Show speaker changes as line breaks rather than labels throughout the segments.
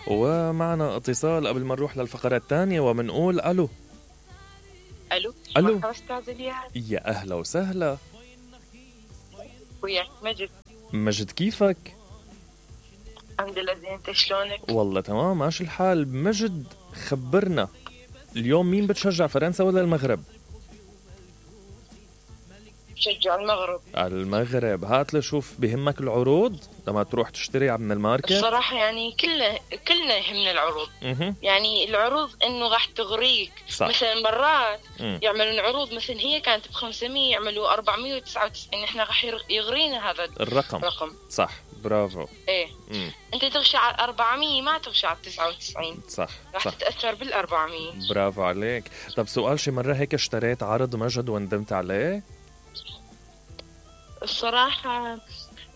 ومعنا اتصال قبل ما نروح للفقرة الثانية ومنقول ألو.
ألو.
ألو.
أستاذ الياس.
يا أهلا وسهلا.
وياك مجد.
مجد كيفك؟
الحمد لله زين، انت شلونك؟
والله تمام ماشي الحال. مجد خبرنا اليوم مين بتشجع، فرنسا ولا المغرب؟
بشجع المغرب.
المغرب. هات لشوف بهمك العروض لما تروح تشتري من الماركت؟
الصراحة يعني كلنا يهمنا العروض. يعني العروض انه راح تغريك.
صح.
مثلا مرات يعملون عروض مثلا هي كانت ب500 يعملوا 499، احنا راح يغرينا هذا الرقم.
صح برافو.
ايه انت تغشى على 400 ما تغشى على 99.
صح
راح تتأثر بال400.
برافو عليك. طب سؤال، شي مرة هيك اشتريت عرض مجد وندمت عليه؟
الصراحة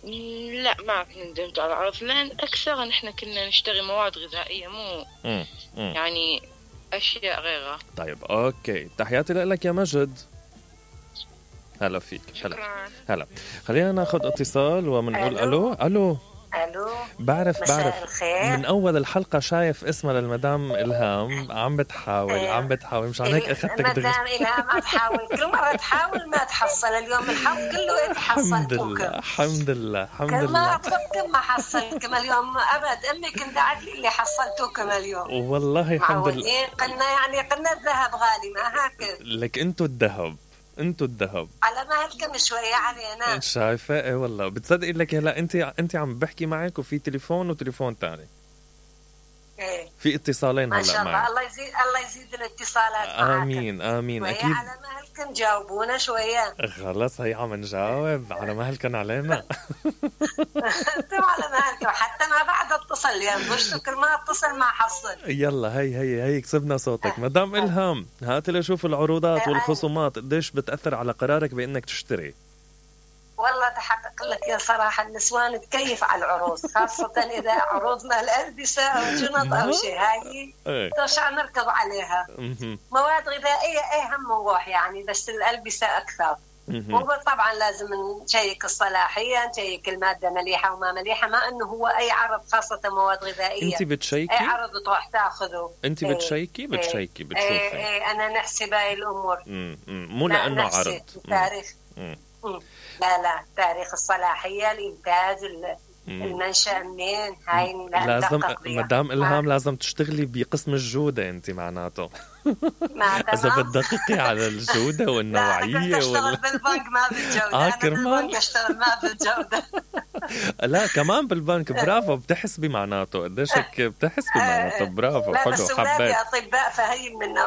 لا ما ندمت على العرض، لأن أكثر نحن كنا نشتري مواد غذائية مو يعني أشياء غيرها.
طيب أوكي، تحياتي لك يا مجد. هلا فيك. هلا. خلينا ناخد اتصال ومنقول ألو.
ألو.
بعرف
الخير.
من أول الحلقة شايف اسمها للمدام إلهام عم بتحاول مشان هيك أخذتك
مدام إلهام عم تحاول، كل مرة تحاول ما تحصل. اليوم الحظ كله حصلتوك.
الحمد لله
كل ما أطلبكم ما حصلتكم اليوم أبد. أمي كنت قاعد لي اللي حصلتوكم اليوم.
والله الحمد لله.
قلنا الذهب غالي ما هكذا.
لك انتو الذهب
على مهلكم شوية علينا.
شايفة؟ ايه والله بتصدقي لك هلا انت عم بحكي معك وفي تليفون وتليفون تاني.
ايه
في اتصالين هلا
ما شاء الله. الله يزيد الاتصالات معك.
امين اكيد.
على مهلكم جاوبونا شوية.
خلص هي عم نجاوب على مهلكم علينا.
انتم على مهلكم حتى ما بعد اتصل يعني مش كل ما اتصل ما حصل.
يلا هي كسبنا صوتك. مدام إلهام هات لي شوف العروضات والخصومات قديش بتأثر على قرارك بانك تشتري.
والله تحقق لك يا صراحة النسوان تكيف على العروض، خاصة إذا عروضنا الألبسة أو جنط أو شيء هاي ترشع نركض عليها. مواد غذائية هم نروح يعني، بس الألبسة أكثر. وطبعا لازم نشيك الصلاحية، نشيك المادة مليحة وما مليحة، ما أنه هو أي عرض خاصة مواد غذائية
أنت بتشيكي؟
أي عرض تروح تأخذه.
أنت بتشيكي بتشوفي.
أنا نحسب هاي الأمور.
مو لأنه عرض.
تاريخ. لا تاريخ الصلاحية، الإنتاج، المنشأ منين، هاي
لازم. مدام إلهام لازم تشتغلي بقسم الجودة انت معناته. إذا بتدققي على الجودة والنوعية.
اشتغل بالبنك ما بالجودة.
كرمال
اشتغل ما بالجودة.
لا كمان بالبنك. برافو، بتحسبي معناته قديش هيك بتحسبي معناته. برافو.
لا
حلو.
بس
حبيت.
أطباء فهي من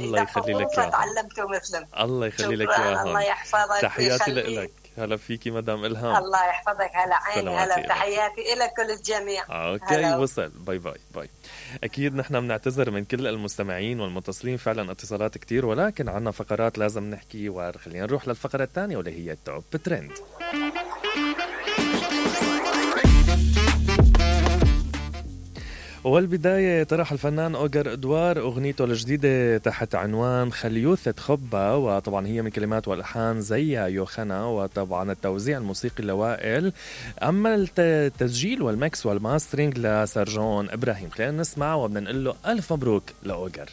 الله يخلي لك اياها.
فتعلمتوا مثلهم.
الله يخلي لك اياها.
الله يحفظك.
تحياتي لك. هلا فيكي مدام إلهام.
الله يحفظك. هلا عيني. هلا تحياتي إلى كل الجميع.
اوكي
هلا.
وصل. باي. اكيد نحن بنعتذر من كل المستمعين والمتصلين، فعلا اتصالات كتير، ولكن عنا فقرات لازم نحكي. وخلينا نروح للفقرة الثانية واللي هي التوب ترند. والبداية طرح الفنان أوغر إدوار أغنيته الجديدة تحت عنوان خليوثة خبة، وطبعا هي من كلمات والألحان زيا يوخنا، وطبعا التوزيع الموسيقي لوائل، أما التسجيل والمكس والماسترينج لسرجون إبراهيم. خلينا نسمع وبدنا نقول له ألف مبروك لأوغر.